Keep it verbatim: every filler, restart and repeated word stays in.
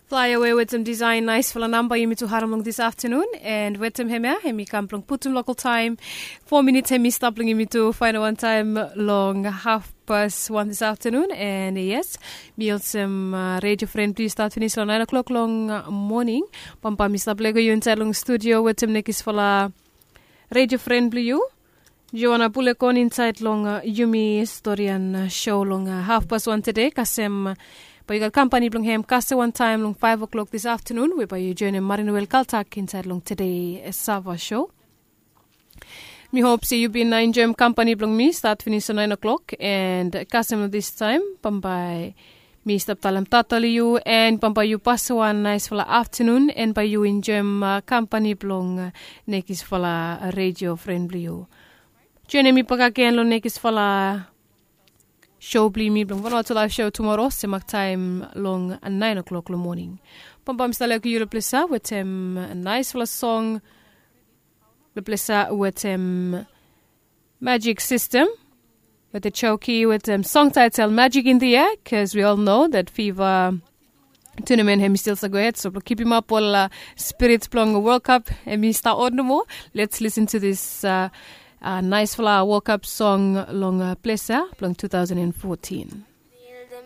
Flaewe wetem disaen naesfala namba yumi tu harem long dis aftanun, and wetem hemia hemi kam blong putum lokal taem. Fo minits hemi stap long yumi tu faenem wantaem long hafpas wan dis aftanun. And yes, mi olsem redio fren blong yu stat finis long naen o'klok long moning. Bambae mi stap lego yu insaed long studio wetem nekisfala redio fren blong yu, Joana Bulekon, insaed long yumi storian sho long hafpas wan tede kasem bae yu gat kampani blong hem kasem wantaem long faef o'klok dis aftanun we bae yu joenem Marin Welkaltak insaed long tede Sava sho. Mi hop se yu bin enjoem kampani blong mi stat finis long naen o'klok, and kasem long distaem bambae mi stap talem tata long yu, and bambae yu pasem wan naesfala aftanun, and bae yu enjoem kampani blong nekisfala redio fren blong yu. Joenem mi bakegen long nekisfala sho blong yumi blong Vanuatu Laef Sho tumoro semak taem long naen o'klok long moning. Bambae mi stap lego yu long plesa wetem naesfala song long plesa wetem Magic System with the Choki with the song title Magic in the Air, because we all know that FIFA tournament hemi stil save gohed. So blong kipimap ol spirits blong World Cup hemi stap on nomo. Let's listen to this uh, uh, naesfala World Cup song long uh, plesa blong two thousand and fourteen.